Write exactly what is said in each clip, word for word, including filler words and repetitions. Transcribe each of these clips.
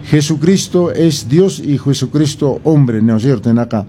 Jesucristo es Dios y Jesucristo hombre, ¿no es cierto? Hinaqa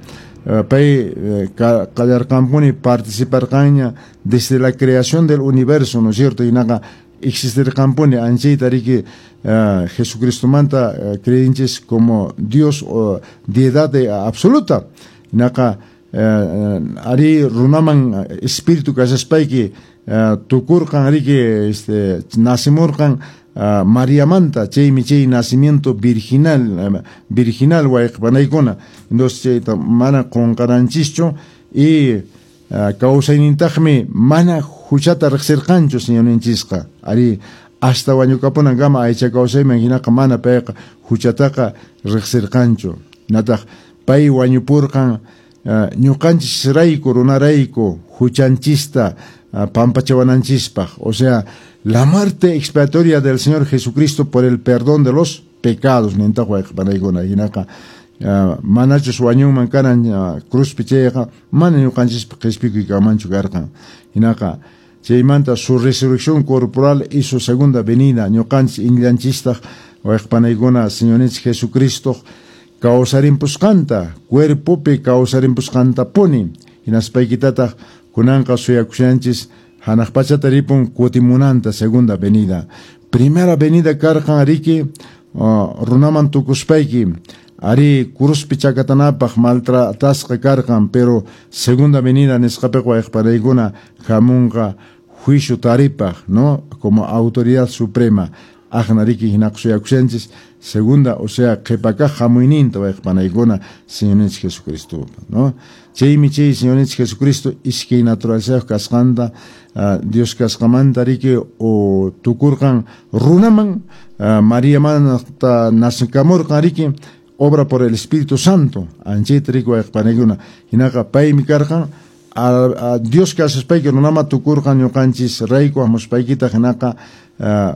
pay qallarqanpuni participarqanña desde la creación del universo, ¿no es cierto? Hinaqa existirqanpuni anchayta riki uh, Jesucristomanta uh, creenches como Dios o deidad absoluta. Hinaqa uh, ari runaman espíritu kashaspayki uh, tukurqan riki este nacimurqan uh, Mariamanta, chaymi chay nacimiento virginal uh, virginal wayqipanaykuna. Entonces chayta mana qunqananchischu y uh, kawsaynintaqmi mana huchata riqsirqanchu Señorninchisqa. Ari hasta wañukapunankama aycha kawsayman hinaqa mana payqa huchataqa riqsirqanchu. Nataq pay wañupurqan uh, ñuqanchisrayku runarayku huchanchista uh, pampachawananchispaq. O sea, la muerte expiatoria del Señor Jesucristo por el perdón de los pecados, nintaq wayqipanaykuna. Hinaqa uh, manachus wañunman karan uh, cruzpi chayqa mana ñuqanchispa qhispikuy kanmanchu karqan. Hinaqa chaymanta su resurrección corporal y su segunda venida ñuqanchis iñillanchistaq wayqipanaykuna Señorninchik Jesucristo kawsarimpusqanta cuerpopi kawsarimpusqantapuni. Hinaspaykitataq kunanqa suyakushanchis hanaq pachata ripun kutimunanta segunda venida. Primera venida karqan riki uh, runaman tukuspayki ari cruzpi chakatanapaq maltratasqa karqan, pero segunda venida nisqapiqa wayqipanaykuna hamunqa juicio taripaq, ¿no? Como autoridad suprema. Aqna riki hinaqa suyakushanchis segunda, o sea, qhipakaq hamuyninta wayqipanaykuna Señorninchik Jesucristo, ¿no? Chaymi chay Señorninchik Jesucristo iskay naturalezayuq kasqanta uh, Dios kasqamanta riki o tukurqan runaman uh, Mariamanta nacikamurqan riki obra por el Espíritu Santo. Anchayta riki wayqipanaykuna. Hinaqa paymi karqan a, a Dios kashaspayki runama tukurqan ñuqanchis rayku hamuspaykita hinaqa uh,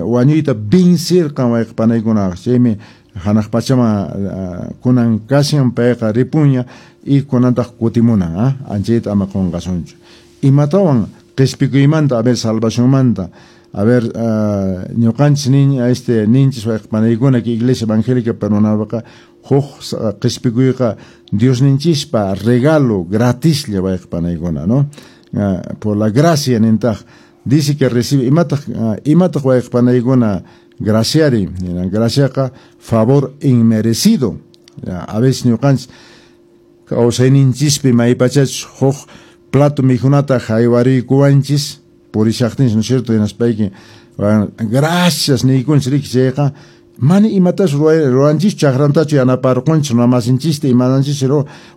wañuyta vincirqan wayqipanaykuna. Chaymi hanaq pachaman uh, kunan kashan payqa ripuña y kunantaq kutimunan, ah? Anchayta ama qunqasunchu. Imatawan qhispikuymanta, a ver, salvacionmanta, a ver, uh, ñuqanchis nin, este ninchis wayqipanaykuna que Iglesia Evangélica Peruanaqa huk qhispikuyqa Diosninchispa regalo gratislla wayqipanaykuna, ¿no? Uh, por la gracia nintaq dice que recibe imataq uh, imataq wayqipanaykuna graciari, graciaqa favor inmerecido. A veces ñuqanchis kawsayninchispi maypachachus huk plato mikhunata haywariykuwanchis purishaqtinchis, ¿no es cierto? Hinaspayki gracias niykunchis riki chayqa mana imatas ruwanchis chakrantachu yanaparqunchis runamasinchista imananchis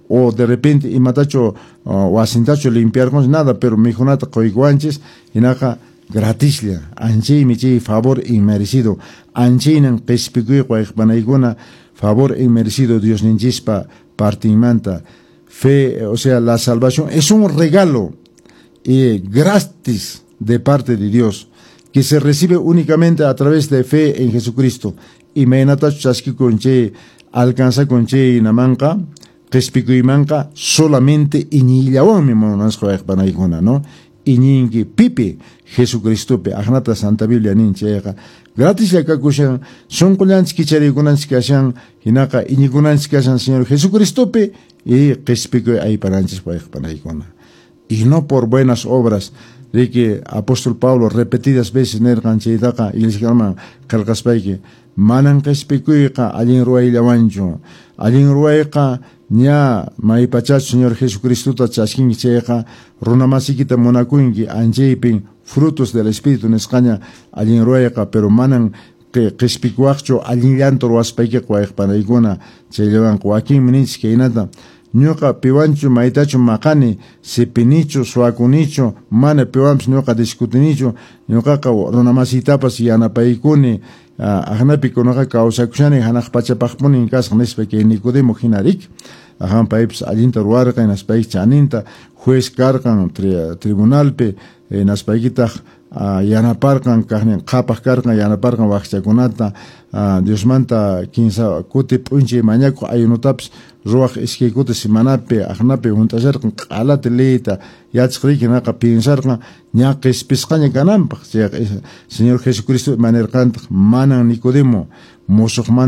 o de repente imatachu wasintachu limpiarqunchis nada, pero mikhunata quykuwanchis hinaqa gratislla anchaymi chay favor inmerecido. Anchaynan qhispikuyqa wayqipanaykuna favor inmerecido Diosninchispa partinmanta. Fe, o sea, la salvación es un regalo y gratis de parte de Dios que se recibe únicamente a través de fe en Jesucristo. Imaynatachu chaskikun chay alcanzakun chay namanqa qhispikuymanqa solamente iñiyllawanmi munasqa wayqipanaykuna, ¿no? Iñinki pipi Jesucristopi aqnata Santa Biblia nin chayqa gratislla kakushan sunqullanchik kichariykunanchik kashan hinaqa iñikunanchik kashan Señor Jesucristopi y qhispikuy aypananchis wayqipanaykuna. Y no por buenas obras. Riki apóstol Pablo repetidas veces nirqan chaytaqa iglesiaman qillqaspayki manan qhispikuyqa allin ruwayllawanchu. Allin ruwayqa ña maypachachu Señor Jesucristota chaskinki chayqa runamasikita munakunki anchaypin frutos del Espíritu nisqaña allin ruwayqa, pero manan qhispikuwaqchu allinllanta ruwaspaykiqa wayqipanaykuna. Chayllawanqa wakinmi ninchis kaynata ñuqa piwanchu maytachu maqani sipinichu suwakunichu mana piwanpis ñuqa discutinichu ñuqaqa runamasiytapas yanapaykuni aqnapi kunaqa kawsakushani hanaq pachapaqpunin kasqa nispa kay Nicodemo hina rik. Ajan paypis allinta ruwarqan hinaspayki chaninta juez karqan tribunalpi hinaspaykitaq yanaparqan kaqnin qhapaq karqan yanaparqan waqchakunata Diosmanta kinsa kuti p'unchay mañakuq ayunutapis ruwaq iskay kuti semanapi aqnapi hunt'asharqan q'alata leyta yachaq riki hinaqa piensarqan ña qhispisqaña kananpaq. Chayqa Señor Jesucristo imanirqantaq manan Nicodemo musuqmanta